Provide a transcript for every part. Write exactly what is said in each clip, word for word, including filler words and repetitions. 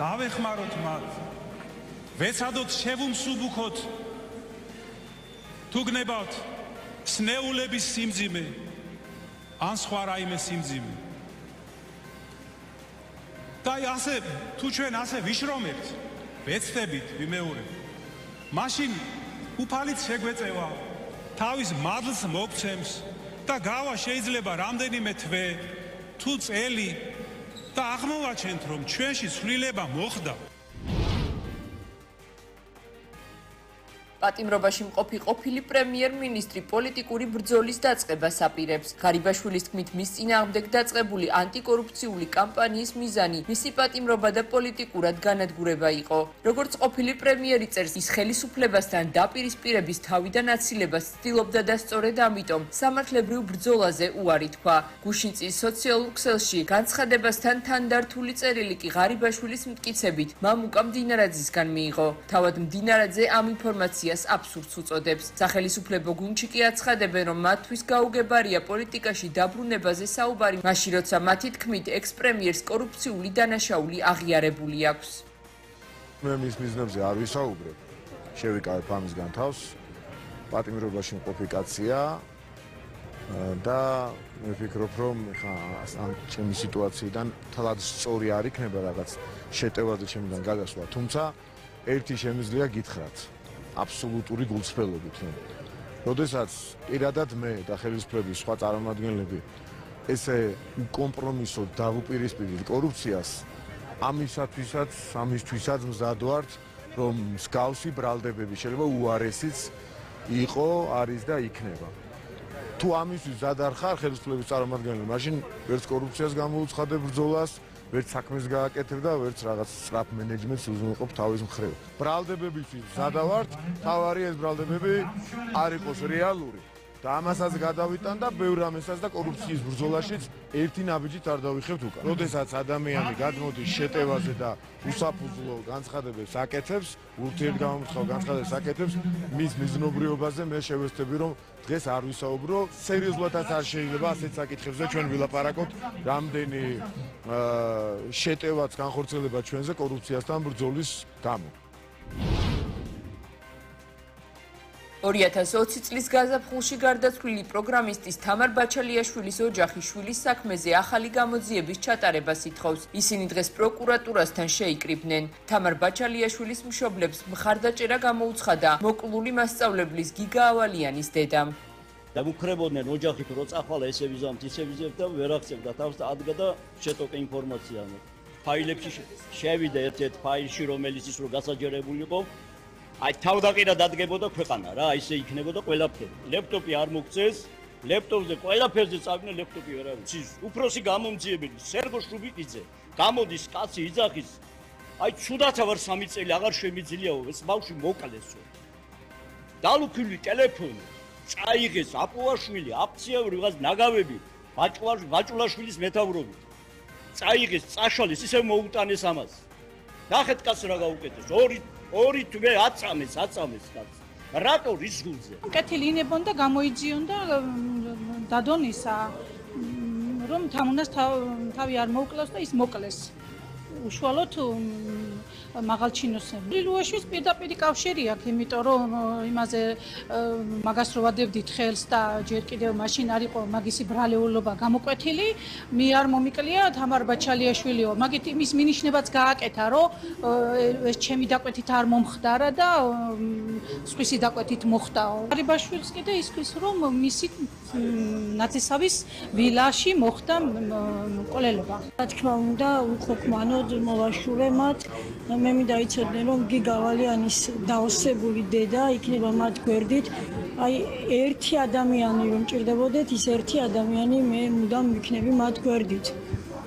დავეხმაროთ მათ, ვეცადოთ შევუმსუბუქოთ, თუ გნებავთ სნეულების სიმძიმე, ან სხვა რაიმე სიმძიმე. და ასე, თუ ჩვენ ასე ვიშრომებთ, ვეცდებით, ვიმეორებთ, მაშინ უფალით შეგვეწევა, თავის მადლს მოგცემს და გავა შეიძლება რამდენიმე თვე, თუ წელი და აღმოვაჩენთ, რომ ჩვენში ცვლილება მოხდა. პატიმრობაში მყოფი ყოფილი პრემიერ-მინისტრი პოლიტიკური ბრძოლის დაწყებას აპირებს. ღარიბაშვილის თქმით, მის წინააღმდეგ დაწყებული ანტიკორუფციული კამპანიის მიზანი მისი პატიმრობა და პოლიტიკურად განადგურება იყო. როგორც ყოფილი პრემიერი წერს, ის ხელისუფლებასთან დაპირისპირების თავიდან აცილებას ცდილობდა და სწორედ ამიტომ სამართლებრივ ბრძოლაზე უარი თქვა. გუშინწის სოციალურ ქსელში განცხადებასთან თანდართული წერილი კი ღარიბაშვილის მტკიცებით მამუკა მდინარაძისგან მიიღო. თავად მდინარაძე ამ ინფორმაციას აბსურდს უწოდებს. სახელისუფლებო გუნდში კი აცხადებენ, რომ მათთვის გაუგებარია პოლიტიკაში დაბრუნებაზე საუბარი, მაშინ როცა მათი თქმით ექს-პრემიერს კორუფციული დანაშაული აღიარებული აქვს. მე მის მიზნებზე არ ვისაუბრებ. შევიკავებ ამისგან თავს. პატიმრობაში მყოფი კაცია და მე ვფიქრობ, რომ ხა ამ ჩემი სიტუაციიდან თალად სწორი არ იქნება რაღაც შეტევაზე ჩემიდან გადასვლა, თუმცა ერთი შემიძლია გითხრათ. აბსოლუტური გულწრფელობით. როდესაც პირადად მე და ხელისუფლების სხვა წარმომადგენლები ესე კომპრომისოდ დავუპირისპირდით კორუფციას, ამისათვისაც, ამისთვისაც მზად ვართ, რომ მსგავსი ბრალდებები შეიძლება უარესიც იყო, არის და იქნება. თუ ამისთვის მზად არ ხარ ხელისუფლების წარმომადგენელი, მაშინ ვერც კორუფციას გამოუცხადებ ბრძოლას, ვერც საქმეს გააკეთებ და ვერც რაღაც სწრაფ მენეჯმენტს უზრუნველყოფ თავის მხრივ. ბრალდებებისთვის მზადა ვართ, თავარი ეს ბრალდებები არ იყოს რეალური და ამასაც გადავიტან და ბევრ ამასაც და კორუფციის ბრძოლაშიც ერთი ნაბიჯით არ დავიხევთ უკან. როდესაც ადამიანი გადმოდის შეტევაზე და უსაფუძვლო განცხადებებს აკეთებს, ურთიერთგამომცხალ განცხადებებს აკეთებს, მის მიზნობრიობაზე მე შევეცდები, რომ დღეს არ ვისაუბრო, სერიოზულადაც არ შეიძლება ასეთ საკითხებზე ჩვენ ვილაპარაკოთ, რამდენი შეტევაც განხორციელება ჩვენზე კორუფციასთან ბრძოლის გამო. ორი ათას ოცი წლის გაზაფხულში გარდაცვლილი პროგრამისტის თამარ ბაჩალიაშვილის ოჯახი შვილის საქმეზე ახალი გამოძიების ჩატარებას ითხოვს. ისინი დღეს პროკურატურასთან შეიკრიბნენ. თამარ ბაჩალიაშვილის მშობლებს მხარდაჭერა გამოუცხადა მოკლული მასწავლებლის გიგა ავალიანის დედამ. დამუქრებოდნენ ოჯახით, რო წახვალა ესე ვიზამთ, ისე ვიზებთ და ვერ აღწევდა თავს და ადგა და შეტოკე ინფორმაცია. ფაილებში შევიდა ერთ-ერთ ფაილში, რომელიც ის რო გასაჯერებული იყო. აი თავდაყირა დადგებოდა ქვეყანა რა, ისე იქნებოდა ყველაფერი. ლეპტოპი არ მოგწეს, ლეპტოპზე ყველაფერზე წავიდნენ, ლეპტოპი ვერ არის. ის უფროსი გამომძიებელი სერგო შრუბიკიძე გამოდის კაცი იძახის. აი ცუდათა ვარ სამი წელი აღარ შემიძლიაო, ეს ბავშვი მოკლესო. დალუქილი ტელეფონი, წაიღეს აპოვაშვილი, აფციავი რაღაც ნაგავები, ბაჭულაშვილის მეთაურობით. წაიღეს, წაშალეს, ისე მოუტანეს ამას. ნახეთ კაცს რა გაუკეთეს. ორი ორი თვე აწამეს, აწამეს კაცს. რატო რის გულზე? კეთილინებონ და გამოიძიონ და დადონისა, რომ თამუნას თავი არ მოუკლავს და ის მოკლეს. უშუალოდ მაღალჩინოსები. ლილუაშვილს პირდაპირ კავშირი აქვს, იმიტომ რომ იმაზე მაგას რო ვადევდით ხელს და ჯერ კიდევ მაშინ არ იყო მაგისი ბრალეულობა გამოკვეთილი, მე არ მომიკლია თამარ ბაჩალიაშვილიო. მაგით იმის მინიშნებაც გააკეთა, რომ ეს ჩემი დაკვეთით არ მომხდარა და სხვისი დაკვეთით მოხდაო. ღარიბაშვილს კიდე ისქვის, რომ მისი ნათესავის ვილაში მოხდა მკვლელობა. რა თქმა უნდა, უხოქმანოდ მოვაშურე მათ. მე მინდა იცოდნენ, რომ გიგა ავალიანის დაოსებული დედა იქნება მათ გვერდით. აი ერთი ადამიანი რომ ჭირდებოდეთ, ის ერთი ადამიანი მე მუდამ ვიქნები მათ გვერდით.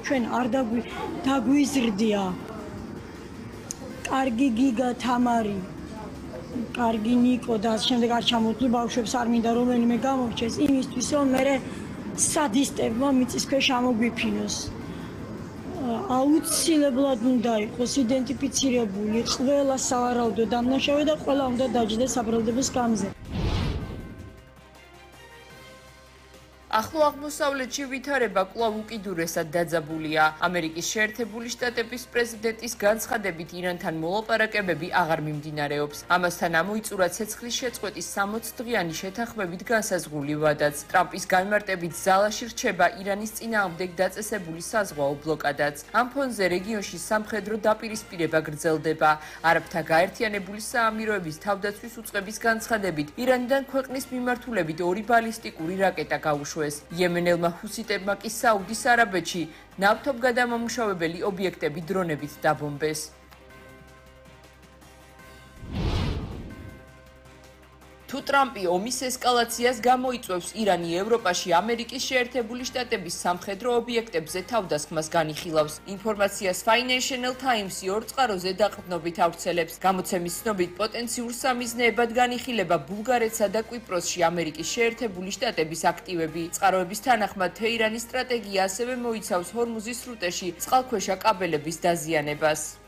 ჩვენ არ დაგვიზრდია. კარგი გიგა თამარი, კარგი ნიკო და შემდეგ არ ჩამოთვლი ბავშვებს არ მინდა რომელიმე გამორჩეს იმისთვის, რომ მე სადისტებმა მიწის ქვეშ ამოგვიფინოს. აუცილებლად უნდა იყოს იდენტიფიცირებული ყველა სავარაუდო დამნაშავე და ყველა უნდა დაჯდეს საბრალდებოს გამზე. ახლო აღმოსავლეთში ვითარება კვლავ უკიდურესად დაძაბულია. ამერიკის შეერთებული შტატების პრეზიდენტის განცხადებით ირანთან მოლაპარაკებები აღარ მიმდინარეობს. ამასთან ამოიწურა ცეცხლის შეწყვეტის სამოც დღიანი შეთანხმებით განსაზღვრული ვადაც. ტრამპის განმარტებით ზალაში რჩება ირანის წინააღმდეგ დაწესებული საზღვაო ბლოკადაც. ამ ფონზე რეგიონში სამხედრო დაპირისპირება გრძელდება. არაბთა გაერთიანებული საამიროების თავდაცვის უწყების განცხადებით ირანიდან ქვეყნის მიმართულებით ორი ბალისტიკური რაკეტა გაუშვეს. იემენელმა ჰუსიტებმა კი საუდის არაბეთში ნავთობგადამამუშავებელი ობიექტები დრონებით დაბომბეს. თუ ტრამპი ომის ესკალაციას გამოიწვევს, ირანი ევროპაში ამერიკის შეერთებული შტატების სამხედრო ობიექტებზე თავდასხმას განიხილავს. ინფორმაციას Financial Times-ი ორ წყაროზე დაყრდნობით ავრცელებს. გამოცემის ცნობით, პოტენციურ სამიზნეებად განიხილება ბულგარეთსა და კვიპროსში ამერიკის შეერთებული შტატების აქტივები. წყაროების თანახმად, თეირანის სტრატეგია ასევე მოიცავს ჰორმუზის სრუტეში წყალქვეშა კაბელების დაზიანებას.